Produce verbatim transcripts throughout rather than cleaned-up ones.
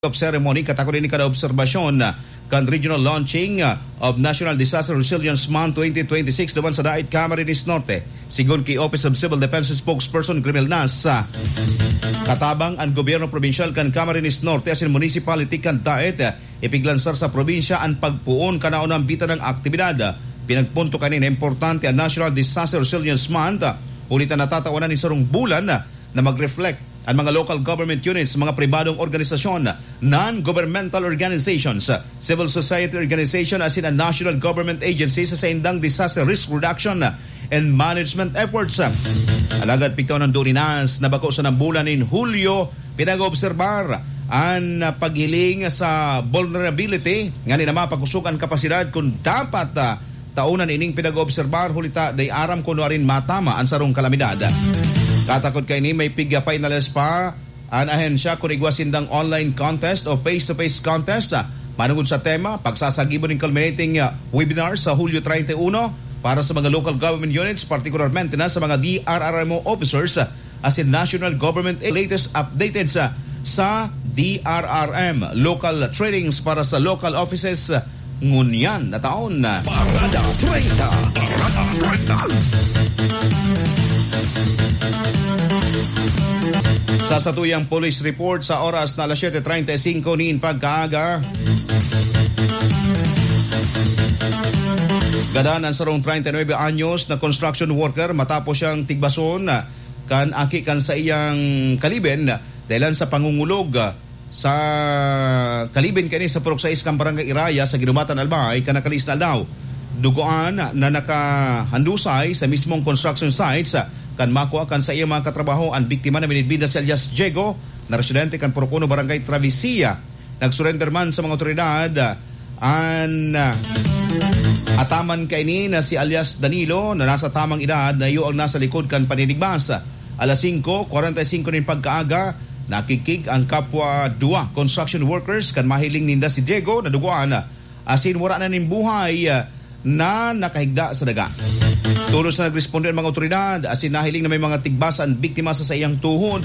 of Ceremony, katakod ini kan obserbasyon kan Regional Launching of National Disaster Resilience Month twenty twenty-six duman sa Dait Camarines Norte. Sigon ki Office of Civil Defense Spokesperson Grimel Nas, katabang an gobyerno probinsyal kan Camarines Norte asin municipality kan Dait, ipiglansar sa probinsya an pagpoon kan naunang bitadang aktibidad. Pinagpunto kaini na importante an National Disaster Resilience Month, huli ta natatawanan nin sarong bulan na mag-reflect an mga local government units, mga pribadong organisasyon, non-governmental organizations, civil society organization asin an national government agencies sa saindang disaster risk reduction and management efforts. Alagad pigtaw nin dulinas na bako sa bulan nin Hulyo, pinag-oobserbar an paghiling sa vulnerability, ngani na mapagkusog an kapasidad kun dapat, ah, taonan ining pinag-oobserbar, huli ta dai aram kun nuarin matama an sarong kalamidad. Katakod kaini, may pig-finalize pa an ahensya kun igwa sindang online contest o face-to-face contest, ah, manongod sa tema, pagsasagibo nin culminating, ah, webinar sa Hulyo treinta y uno para sa mga local government units, partikularmente na sa mga D R R M O officers, ah, asin national government. Latest updated sa, sa D R R M, local trainings para sa local offices, ah, ngunyan na taon. Parada treinta. Parada treinta. Sa satuyang police report, sa oras na alas siete treinta y cinco nin pagkaaga, gadan an sarong treinta y nuebe anyos na construction worker matapos siyang tigbason kan aki kan saiyang kaliben, dahilan sa pangungulog sa kaliben kaini sa Purok sais kan Barangay Iraya sa Guinobatan, Albay, kan nakalihis na aldaw. Dugoan na nakahandusay sa mismong construction sites kan makua kan saiyang mga katrabaho an biktima na minidbid na si alias Diego, na residente kan Purok uno, Barangay Travesía. Nagsurrender man sa mga otoridad an, ah, ataman kaini na si alias Danilo, na nasa tamang edad, na iyo ang nasa likod kan paninigbas. Alas singko kwarenta y singko nin pagkaaga, nakikig ang kapwa duwa construction workers kan mahiling ninda si Diego na dugoan asin wara na nin buhay, ah, na nakahigda sa daga. Tolos na nagresponde an mga otoridad asin nahiling na may mga tigbas an biktima sa saiyang tuhod.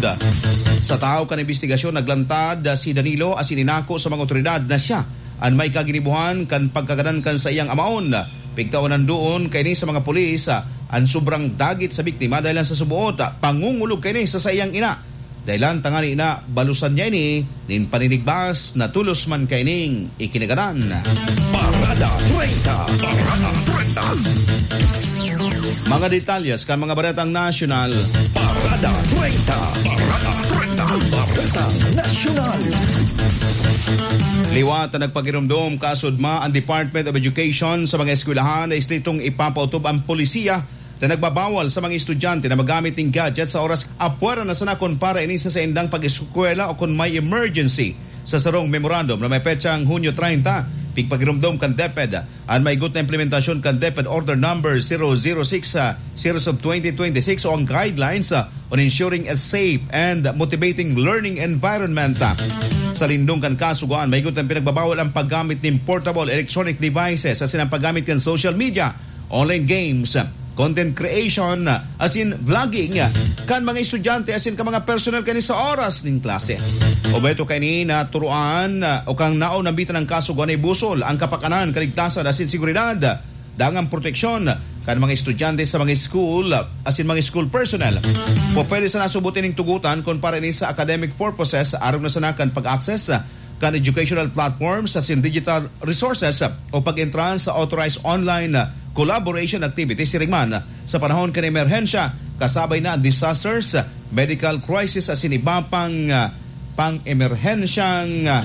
Sa tahaw kan imbestigasyon, naglantad si Danilo asin inako sa mga otoridad na siya an may kaginibohan kan pagkagadan kan saiyang amaon. Pigtaw nin dulinas kaini sa mga pulis, ah, an sobrang dagit sa biktima dahilan sa suboot, ah, pangungulog kaini sa saiyang ina. Dahilan tangani na balusan niya ini nin paninigbas na tolos man kaining ikinagadan. Parada treinta. Parada treinta. Mga detalyes kan mga baretang nasyonal. Parada treinta. Parada treinta. Baretang nasyonal. Liwat na nagpagiromdom kasudma ang Department of Education sa mga eskwelahan na estriktong ipapautob ang polisiya na nagbabawal sa mga estudyante na maggamit nin gadget sa oras apwera na sana kun para ini sa saindang pag-eskwela o kun may emergency. Sa sarong memorandum na may petsang Hunyo treinta, pigpagiromdom kan DepEd an maigot na implementasyon kan DepEd Order Number zero zero six, ah, series of twenty twenty-six o ang guidelines, ah, on ensuring a safe and motivating learning environment. Sa lindong kan kasugoan, maigot na pinagbabawal ang paggamit nin portable electronic devices asin ang paggamit kan social media, online games, content creation, asin vlogging kan mga estudyante asin kan mga personnel kaini sa oras nin klase. Obheto kaini na turuan o kan naon nambitan an kasugoan na ibusol ang kapakanan, kaligtasan asin seguridad. Dangan proteksyon kan mga estudyante sa mga school asin mga school personnel. Pwede sana subot ining tugotan kun para ini sa academic purposes, arog na sana kan pag-access kan educational platforms asin digital resources o pag-entra sa authorized online collaboration activities, siring man sa panahon kan emerhensya, kasabay na ang disasters, medical crisis asin iba pang, ah, pang-emerhensyang, ah,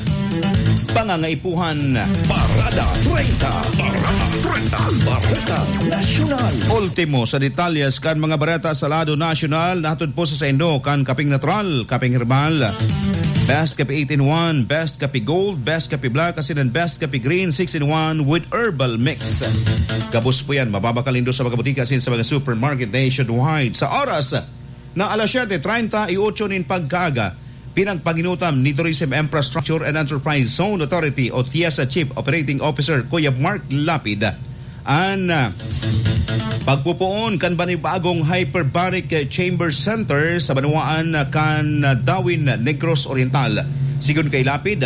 pangangaipuhan. Parada treinta. Parada treinta. Bareta Nasyonal. Ultimo sa detalyes kan mga bareta sa lado nasyonal, nahatod po sa saindo kan kaping natural, kaping herbal. Best Kape eight in one, Best Kape Gold, Best Kape Black, asin ang Best Kape Green six in one with herbal mix. Gabos po yan, mababakal nindo sa mga butika asin sa mga supermarket nationwide. Sa oras na alas siete treinta y ocho nin pagkaaga, pinagpaginutam ni Tourism Infrastructure and Enterprise Zone Authority o TIEZA Chief Operating Officer Kuya Mark Lapid an, ah, pagpupoon kan banibagong hyperbaric chamber center sa banwaan kan Dawin, Negros Oriental. Sigon kay Lapid,